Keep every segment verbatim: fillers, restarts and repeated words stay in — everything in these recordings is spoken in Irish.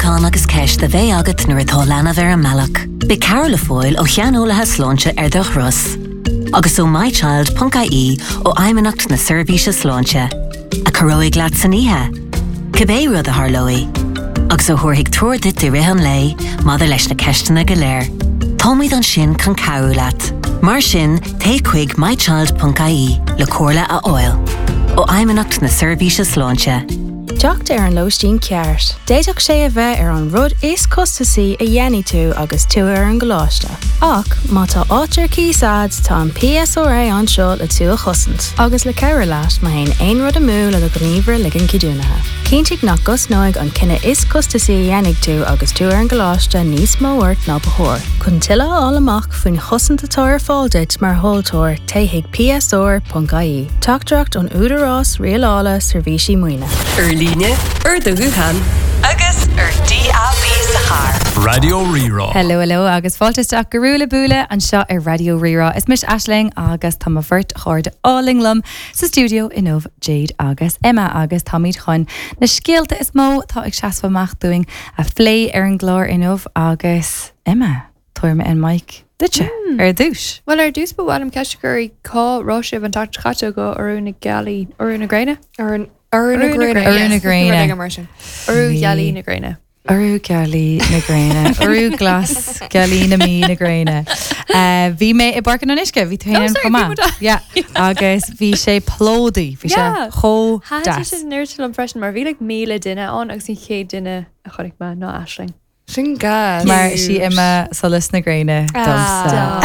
Fiosrúchán agus ceist a bheidh agat nuair atá leanbh ar an mbealach. Beidh cabhair le fáil ó shaineolaithe sláinte ar do thuras. Agus ó mychild.ie ó Fheidhmeannacht na Seirbhíse Sláinte, a chabhróidh leat san oíche. Cibé rud a tharlóidh, agus a thabharfaidh treoir duit i rith an lae maidir leis na ceisteanna go léir. Táimid ansin chun cabhrú leat. Mar sin téigh chuig mychild.ie le comhairle a fháil. Ó Fheidhmeannacht na Seirbhíse Sláinte. Teacht ar an lóistín ceart. D'fhéadfadh sé a bheith ar an rud is costasaí a dhéanfaidh tú agus tú ar an gcoláiste. Ach má tá áit ar cíos agat tá an PSRA anseo le tú a chosaint, agus le cabhrú leat má théann aon rud amú le do ghníomhaire ligean ceadúnaithe. Cinntigh nach gcosnóidh an cinneadh is costasaí a dhéanfaidh tú agus tú ar an gcoláiste níos mó ort ná ba chóir. Chun tuilleadh a fháil amach faoin chosaint atá ar fáil duit mar thomhaltóir téigh chuig PSR.ie. Teachtaireacht ón Údarás Rialála Seirbhísí Maoine. Ar líne, ar do ghuthán agus ar DAB sa charr. Raidió Rí-Rá. Hello, hello agus fáilte isteach go Ruaille Buaille anseo ar Raidió Rí-Rá. Is mise Aisling agus tá mo bheirt chairde álainn liom sa stiúideo inniu Jade agus Emma agus táimid chun na scéalta is mó atá ag seasamh amach dúinn a phlé ar an gclár inniu agus Emma, tabharfaidh mé an mic duitse ar dtús. Well ar dtús ba mhaith liom ceist a chur cá raibh sibh an tseachtain chaite go urú na gealaí urú na gréine? Ar Urú na gréine. Urú na gréine. mar sin. Urú ghealaí na gréine. Urú gealaí na gréine, Urú glas gealaí na mí na gréine. Uh, bhí mé i bPáirc an Fhionnuisce, bhí tú Oh, sorry, bhí muid Yeah, agus bhí sé plódaithe, bhí sé Yeah. chomh Thaitin deas. sin nuair liom freisin mar bhí like míle duine ann agus an chéad duine a chonaic mé ná Aisling. Sin gas. Mar sí Emma solas na gréine domsa.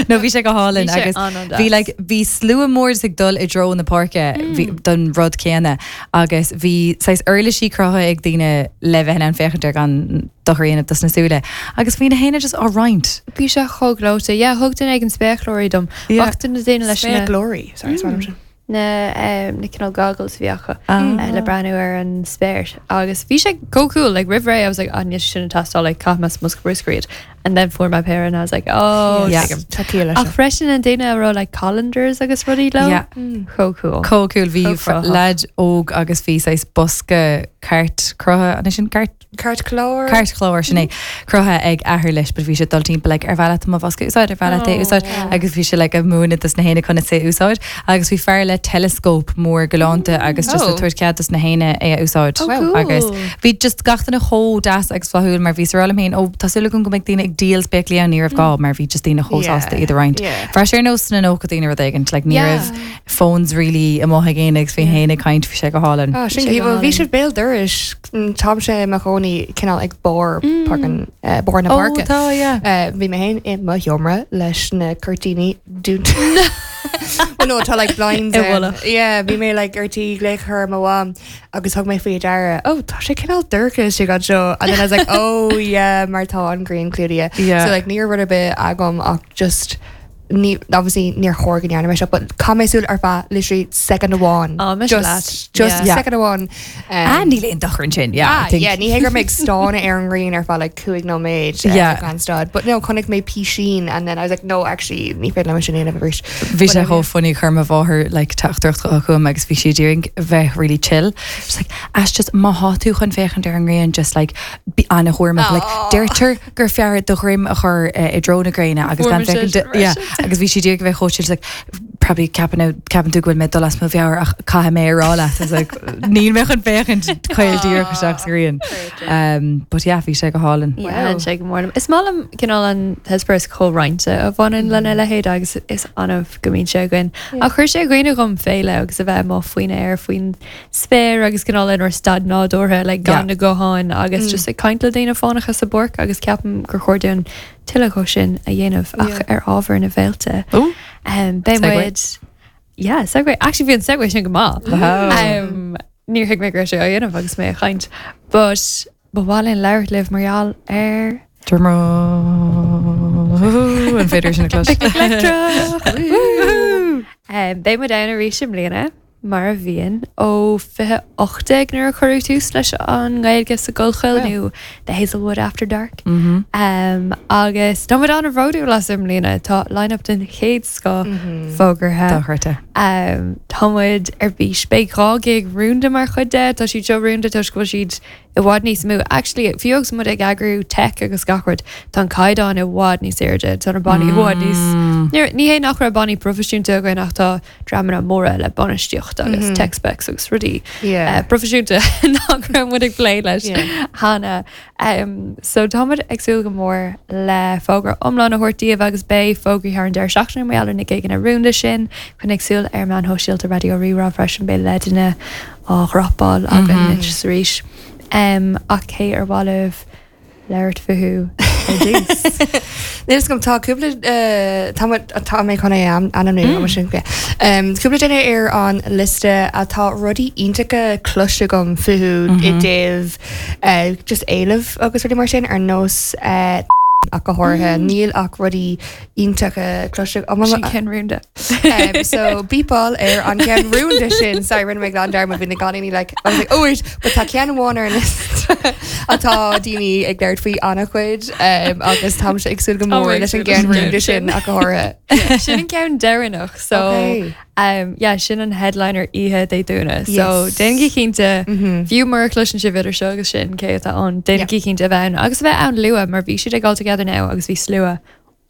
No bhí sé go hálainn Bhí sé agus an-an-deas. bhí like bhí slua mór ag dul i dtreo na páirce bhí don rud céanna agus bhí saghas uirlisí cruthaithe ag daoine le bheith in ann féachaint ar gan dochar a dhéanamh dos na súile agus bhí na héine just á roinnt. Bhí sé chomh gleoite, yeah, thug duine ag an spéaclóirí dom. Yeah. Ach duine daoine leis na Glory. Sorry, mm. sin. na um, na cineál goggles bhí acu Ah. uh, le breathnú ar an spéir agus bhí sé go cool like roimh ré I was like ah níl sin ag teastáil like caithfidh mé sa mbosca bruscair iad and then fuair mé péire and I was like oh Yeah. tuigim. Tá ciall leis Ach freisin an duine a raibh like colanders agus rudaí leo Yeah. chomh cool. Chomh cool bhí Chomh cruthaitheach. leaid óg agus bhí saghas bosca cairt cruthaithe an sin cairt Cairtchlár. Cairtchlár sin é cruthaithe ag athair leis, but bhí sé dul timpeall like, ar bhealach mo bhosca úsáid ar bhealach é úsáid agus bhí sé like, ag múineadh dos na héinne conas é úsáid agus bhí fear le telescope mór galánta agus just Oh. le tabhairt cead dos na héinne é a úsáid Oh, cool. agus bhí just gach duine chomh deas agus flaithiúil mar bhí sa féin ó tá súil agam go mbeidh daoine ag díol spéaclaí ann ní raibh gá mar bhí just daoine chomh Yeah. sásta iad a roinnt. Yeah. Bhí sé ar nós na nócha daoine rud éigin, like, ní Yeah. raibh phones really amuigh ag éinne agus bhí héin ag caint bhí sé go hálainn. Ah, sin Sé go bhí hálainn. sibh béal dorais tá sé mo chónaí cineál ag barr parkan barr na Ó, páirce. tá, yeah. Uh, Bhí mé féin i mo sheomra leis na cuirtíní dúnta. Well, no, tá like blinds I ann. bhfolach. Yeah, bhí mé like ar tí glaoch ar mo mham agus thug mé faoi deara. Oh, tá sé cineál dorcha sé gan seo. And then I was like, oh yeah, mar tá an ghrian clúdaithe. Yeah. So like ní rud ar bith agam ach just ní obviously níor chóir go ndearna mé seo, but chaith mé súil ar feadh literally second amháin. Oh, mise just leat. just Yeah. second amháin. Ah, Um, níl aon dochar ansin, yeah. I Ah, think- yeah, ní hé gur méid stána ar an ghrian ar feadh like cúig nóiméad uh, Yeah. gan stad. But no, chonaic mé písín and then I was like, no, actually, ní féidir liom sin a dhéanamh arís. Bhí sé But, chomh funny chuir mo mháthair like teachtaireacht chugam agus bhí sí d'iarraidh bheith really chill. She's like, as just má tá tú chun féachaint ar an ngrian just like bí an-chúramach like deirtear gur fearr do dhroim a chur uh, i dtreo na gréine agus Fuair gan mé sin féachaint yeah, agus bhí sí d'iarraidh bheith chomh chill, she's like probably ceapann ceapann tú go bhfuil mé dul as mo mheabhair ach caithfidh mé a rá leat. I was like níl mé chun féachaint caol díreach isteach sa ghrian. Um, but yeah, bhí sé go hálainn. Yeah, sé go mór. Is maith liom cineál an t-eispéireas comhroinnte a bhaineann lena leithéid agus is annamh go mbíonn sé againn. Ach chuir sé i gcuimhne dhom féile agus a bheith amuigh faoin aer faoin spéir agus cineál inár staid nádúrtha le gan Yeah. na gutháin agus just ag caint le daoine fánacha sa bpáirc agus ceapaim gur chóir dúinn tuilleadh de sin a dhéanamh ach ar ábhar na bhféilte. Ooh. Um, Beidh Segue. muid Yeah, segue. Actually bhí an segue sin go maith. Wow. Um, níor thuig mé go raibh sé á dhéanamh agus mé ag caint. But ba mhaith linn labhairt libh mar gheall ar Drumroll. An féidir sin a chlos. Um, Beidh muid ann arís i mbliana mar a bhíonn ó fiche ocht déag nuair a cuireadh tús leis an nGaeilge sa Collchoill nó The Hazelwood After Dark. Mhm. Um, agus tá muid an-bhródúil as i mbliana tá line-up den chéad scoth fógartha Dochreidte. Um, tá muid ar bís beidh dhá gig rúnda mar chuid de tá siad seo rúnda toisc go bhfuil siad i bhfad níos mó. Actually, fiú agus muid ag eagrú tech agus gach rud tá an caighdeán i bhfad níos airde tá na bannaí i bhfad níos Ní ní hé nach raibh bannaí proifisiúnta againn ach tá dreamanna móra le bainistíocht agus mm -hmm. tech specs agus rudaí Yeah. uh, proifisiúnta nach raibh muid ag plé leis Yeah. cheana. Um, so táimid ag súil go mór le fógra iomlán a thabhairt daoibh agus beidh fógraí thar an deireadh seachtaine mar gheall ar na gigeanna rúnda sin coinnigh súil ar meáin shóisialta Raidió Rí-Rá freisin beidh leideanna á dhropáil againn anois arís. Um, ach cé ar mhaith libh labhairt fúthu ar dtús. Níl gom tá cúpla tá tá mé chun é ainmniú sin Cúpla duine ar an liosta atá rudaí iontacha cloiste agam fúthu i dtaobh just éileamh agus rudaí mar sin ar nós ach go háirithe níl ach rudaí iontacha cloiste Sin ceann rúnda. Um, so beepáil ar an ceann rúnda sin sorry rinne mé glan dearmad bhí na ganí like I was like oh wait but tá ceann amháin ar an list atá daoine ag labhairt faoi an-chuid um, agus táimse ag súil go mór leis an gceann rúnda sin ach go háirithe. Sin an ceann deireanach so Okay. um, yeah, sin an headliner oíche Dé Domhnaigh. So Yes. déanaigí cinnte fiú mura gcloiseann sibh idir seo agus sin cé atá ann déanaigí cinnte a bheith ann agus a bheith ann luath mar bhí siad ag all together now agus bhí slua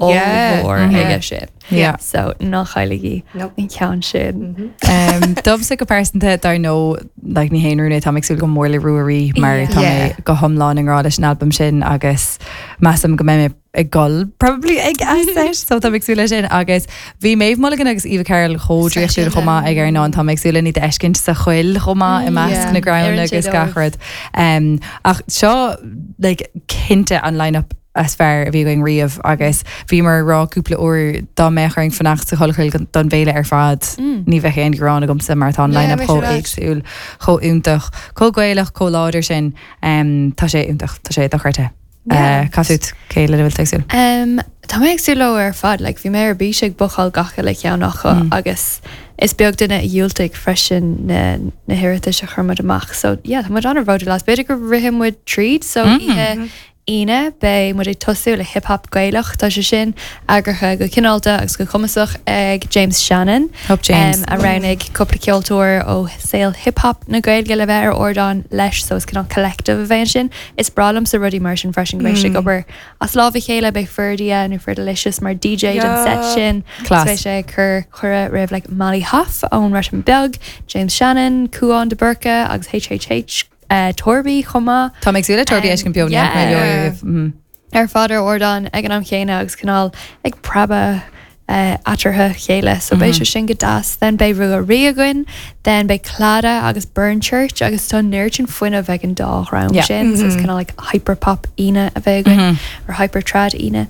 Yeah. mór Mhm. aige sin. Yeah. So ná cailligí Nope. an ceann sin. Um, Domsa go pearsanta dar ndóigh like, ní haon rún é tá ag súil go mór le Ruairí mar Yeah. tá mé Yeah. go hiomlán i ngrá leis an albam sin agus measaim go mbeidh mé ag gol probably ag set so tá ag súil leis sin agus bhí Maeve Mulligan agus Eva Carroll chomh draíochtúil chomh maith ag ar ná tá ag súil ní d'fheiscint sa choill chomh maith i measc Yeah. na gcrann Oireann sé agus gach dóibh. rud. Um, ach seo like, cinnte an line-up is fearr a bhí againn riamh agus bhí mar rá cúpla uair dá mbeadh orainn fanacht sa choill don bhféile ar fad ní bheadh aon ghearán agamsa mar tá an Yeah, line-up bheadh chomh sé éagsúil chomh iontach chomh Gaelach chomh láidir sin um, tá sé iontach tá sé dochreidte. Yeah. Uh, Cad cé le bhfuil tú ag súil? Um, tá mé ag súil leo ar fad, like, bhí mé ar bís ag bookáil gach uile cheann acu mm. agus is beag duine a dhiúltaigh freisin na, na hiarratais a chuir muid amach. So yeah, tá muid an-bhródúil as b'fhéidir go rithfidh muid tríd, so mm. oíche Aoine beidh muid ag tosú le hip-hop Gaelach tá sé sin eagraithe go cineálta agus go cumasach ag James Shannon. Up James. Um, a roghnaigh cúpla ceoltóir ó saol hip-hop na Gaeilge le bheith ar ardán leis so is cineál collective a bheidh sin. Is breá liomsa rudaí mar sin freisin go mbeidh sé ag obair as lámh a chéile beidh Ferdia nó Ferdelicious mar DJ don Yeah. set sin. Class. Beidh sé ag cur cuireadh roimh like Molly Huff ón Bhreatain Bheag, James Shannon, Cuán de Burca agus HHH uh, Torby chomh maith. Tá ag súil le Torby Um, eiscin beo yeah. mm. ar fad ar ardán ag an am chéanna agus cineál ag preabadh uh, eatarthu chéile, so beidh sé sin go deas, then beidh Ruairí againn, then beidh Clada agus Burn Church agus tá neart sin fuinnimh ag an dá dhream Yeah. sin, so it's kind of like hyperpop Aoine a bheidh againn or hyper trad Aoine.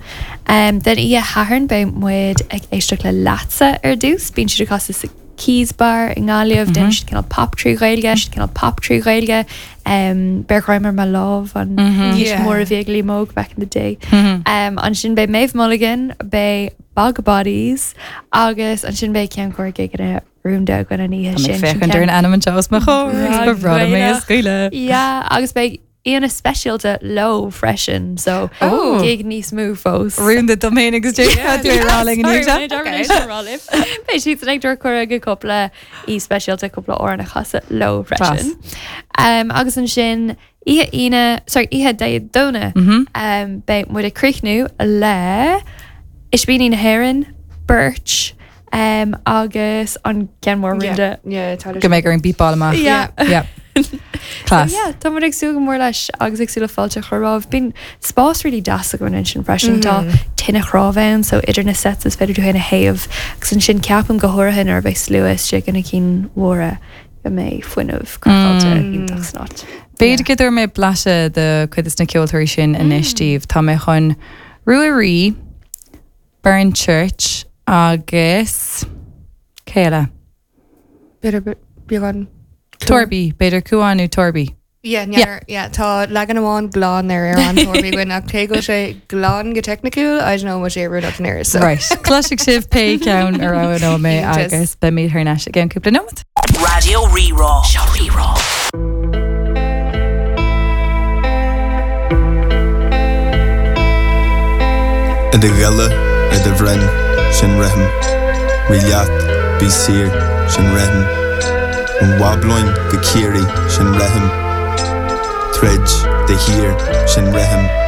Um, then oíche Shathairn beidh muid ag éisteacht le Leatsa ar dtús, bíonn siad ag casadh sa Keys Bar i nGaillimh, mm -hmm. siad cineál pop trí Ghaeilge, siad cineál pop trí Ghaeilge, um, Beir greim ar mo lámh an hit Yeah. mór a bhí ag Liam Óg back in the day. Um, ansin beidh Maeve Mulligan, beidh Bog Bodies agus ansin beidh ceann cóir gigeanna rúnda againn an oíche Tá sin. féachaint ar an ainm anseo os mo chomhair ba bhreá mé a scaoileadh. Yeah, agus beidh aíonna speisialta leo freisin, so Oh. gig níos mó fós. Rúnda dom féin agus Beidh siad ag tabhairt cuireadh go cúpla aoi speisialta cúpla amhrán a chasadh leo freisin. Um, agus ansin oíche Aoine sorry oíche Dé Domhnaigh um, beidh muid ag críochnú le Ispíní na hÉireann, Birch um, agus an ceann mór rúnda. Yeah, tá Go mbeidh ar an beepáil amach. Yeah. Yeah. Class. So, yeah, tá muid ag súil go mór leis agus ag súil le fáilte a chur romhaibh. Bíonn spás really deas againn ansin freisin tá tine chnámh ann, so idir na sets is féidir tú féin a théamh agus ansin ceapaim go háirithe nuair a bheidh slua istigh ina cinn mhóra go mbeidh fuinneamh craiceáilte iontach san áit. B'fhéidir go dtabharfaidh mé blaiseadh de chuid de na ceoltóirí sin anois daoibh. Tá mé chun Ruairí, Burn Church agus céile. B'fhéidir beagán. Torby, b'fhéidir Cuán nó Torby. Yeah, yeah. yeah, tá leagan amháin glan ar ar an Torby againn ach cé go sé glan go teicniúil, I don't know what sé rud up near so. Right. Cloisfidh sibh pé ceann a roghnóidh mé Iontach. agus beimid thar n-ais i gceann cúpla nóiméad. Raidió Rí-Rá. Seo Rí-Rá. I do ghile ar do bhroinn sin rithim, Rí leat, bí Bí saor sin rithim. Ón mBablóin go Ciarraí sin rithim. Troid de shíor sin rithim.